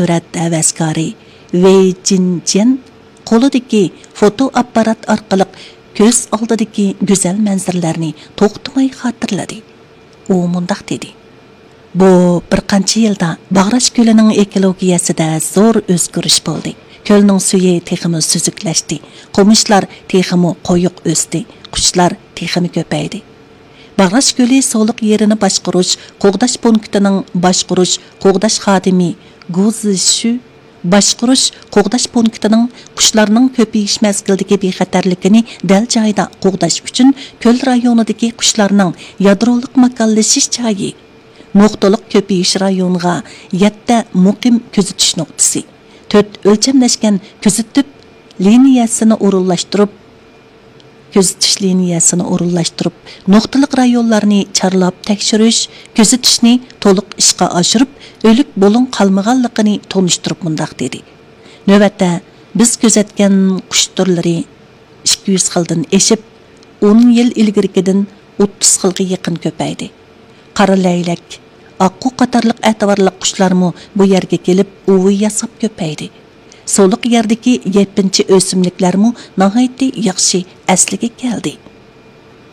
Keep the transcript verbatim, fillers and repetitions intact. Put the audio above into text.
سۈرەت ھەۋەسكارى ۋېي جىنجيەن قولىدىكى فوتو ئاپپارات ئارقىلىق كۆز ئالدىدىكى گۈزەل مەنزىرىلەرنى توختىماي خاتىرىلىدى. ئۇ مۇنداق دېدى: بۇ بىر قانچە يىلدا باغراش كۆلىنىڭ ئېكولوگىيەسىدە زور ئۆزگىرىش بولدى. كۆلنىڭ سۈيى تېخىمۇ سۈزۈكلەشتى، قومۇشلار تېخىمۇ قويۇق ئۆستى، قۇشلار تېخىمۇ كۆپەيدى. باغراش كۆلى سۇلۇق يېرىنى باشقۇرۇش قوغداش پونكىتىنىڭ باشقۇرۇش قوغداش خادىمى گۇ زىشۈ باشقۇرۇش قوغداش پونكىتىنىڭ قۇشلارنىڭ كۆپىيىش مەزگىلىدىكى بىخەتەرلىكىنى دەل جايىدا قوغداش ئۈچۈن كۆل رايونىدىكى قۇشلارنىڭ يادرولۇق ماكانلىشىش جايى، نۇقتىلىق كۆپىيىش رايونىغا يەتتە مۇقىم كۆزىتىش نۇقتىسى، تۆت ئۆلچەملەشكەن كۆزىتىپ لىنىيەسىنى ئورۇنلاشتۇرۇپ، كۆزىتىش لىنىيەسىنى ئورۇنلاشتۇرۇپ، نۇقتىلىق رايونلارنى چارلاپ تەكشۈرۈش، كۆزىتىشنى تولۇق ئىشقا ئاشۇرۇپ، ئۆلۈك بۇلۇڭ قالمىغانلىقىنى تونۇشتۇرۇپ مۇنداق دېدى: نۆۋەتتە بىز كۆزەتكەن قۇش تۈرلىرى ئىككى يۈز خىلدىن ئېشىپ، ئون يىل ئىلگىرىكىدىن ئوتتۇز خىلغا يېقىن كۆپەيدى. قارا لەيلەك، ئاققۇ قاتارلىق ئەتىۋارلىق قۇشلارمۇ بۇ يەرگە كېلىپ ئۇۋا ياساپ كۆپەيدى. سۇلۇق يەردىكى يەپپىنچى ئۆسۈملۈكلەرمۇ ناھايىتى ياخشى ئەسلىگە كەلدى.